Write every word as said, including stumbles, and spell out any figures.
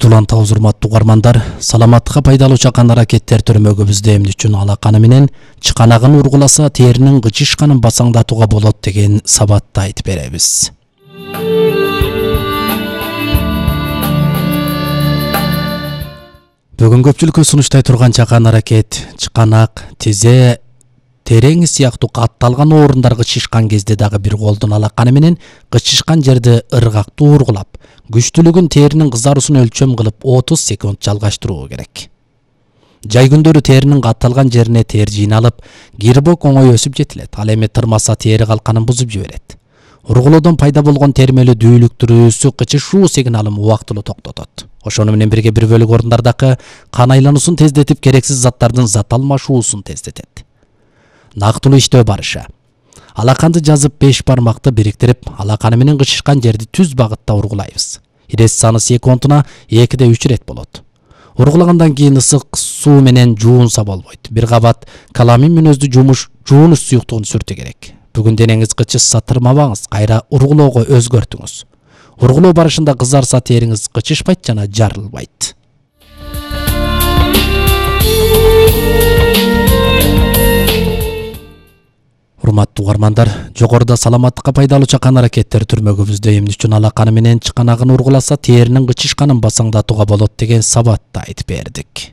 Сиздүү улантабыз, урматтуу угармандар. Саламаттыкка пайдалуу чакан аракеттер төрмөгүбүздө эмне үчүн алаканы менен чыканагын ургуласа теринин кычышканын басаңдатууга болот деген сабатты айтып беребиз. Бүгүн көпчүлүккө сунуштай турган чакан аракет чыканак, тизе, терең сыяктуу катталган орундарга чышкан кезде дагы бир колдун алаканы менен кычышкан жерди ыргактуу ургулап, күчтүүлүгүн теринин кызаруусун өлчөм кылып отуз секунд жалгаштыруу керек. Жай күндөрү теринин катталган жерине тер жыйналып, кирбок оңой өсүп жетилет. Ал эми тырмаса тери калканын бузуп жиберет. Ургулоодон пайда болгон термелүү дүүлүктүрүүсү кычышуу сигналын убактылуу токтотот. Ошону менен бирге бир бөлүк орундардагы кан айлануусун тездетип, керексиз заттардын зат алмашуусун тездетет. Нактылуу иштөө барышы. Алаканды жазып беш бармакты бириктирип, алаканы менен кычышкан жерди түз багытта ургулайбыз. Ирес саны секундуна экиде үч ирет болот. Ургулагандан кийин ысык суу менен жуунса болбойт. Бир кабат каламин мүнөздүү жумуш жуунуш суюктугун сүртүү керек. Бүгүн денеңиз кычышса тырмабаңыз, кайра ургулоого өзгөртүңүз. Ургулоо барышында кызарса териңиз кычышпайт жана жарылбайт. Урматтуу угармандар, жогоруда саламаттыкка пайдалуу чакан аракеттер түрмөгүбүздө эмне үчүн алаканы менен чыканагын ургуласа теринин кычышканын басаңдатууга болот деген сабатты айтып бердик.